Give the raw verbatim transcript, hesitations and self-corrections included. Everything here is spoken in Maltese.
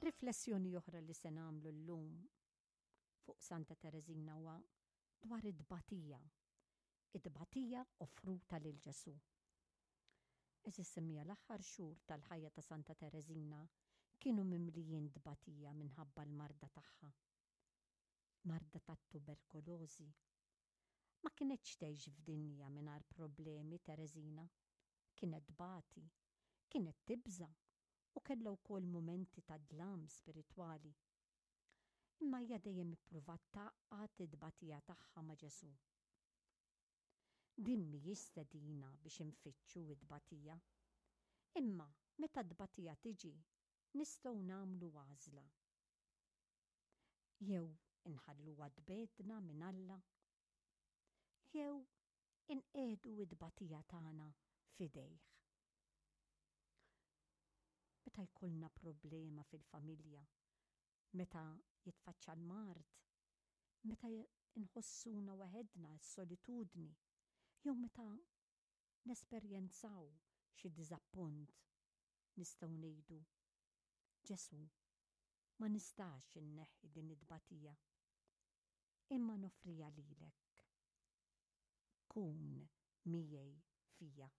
Riflessjoni oħra li se nagħmlu llum fuq Santa Tereżina huwa dwar it-tbatija. It-tbatija offruta lil Ġesù. Għeżież semmiegħa, l-aħħar xhur tal-ħajja ta' Santa Tereżina kienu mimlijin tbatija minħabba l-marda tagħha. Marda tat-tuberkulożi. Ma kinetx tgħix f'dinja mingħajr problemi Tereżina. Kienet tbati, kienet tibża' u kellha wkoll mumenti ta' dlam spiritwali. Imma hija dejjem ippruvat tgħaqqad it-tbatija tagħha ma' Ġesù. Din mhijiex stedina biex infittxu it-tbatija. Imma meta t-tbatija tiġi, nistgħu nagħmlu għażla. Jew inħalluha tbegħedna minn Alla, jew inqiegħdu it-tbatija tagħna f'idejh. Meta jkollna problema fil-familja, meta jitfaċċa l-mard, meta nħossuna waħedna, s-solitudni, jew meta nesperjenzaw xi diżappunt, nistgħu ngħidu: "Ġesù, ma nistax inneħħi din it-tbatija, imma noffriha lilek. Kun miegħi fija."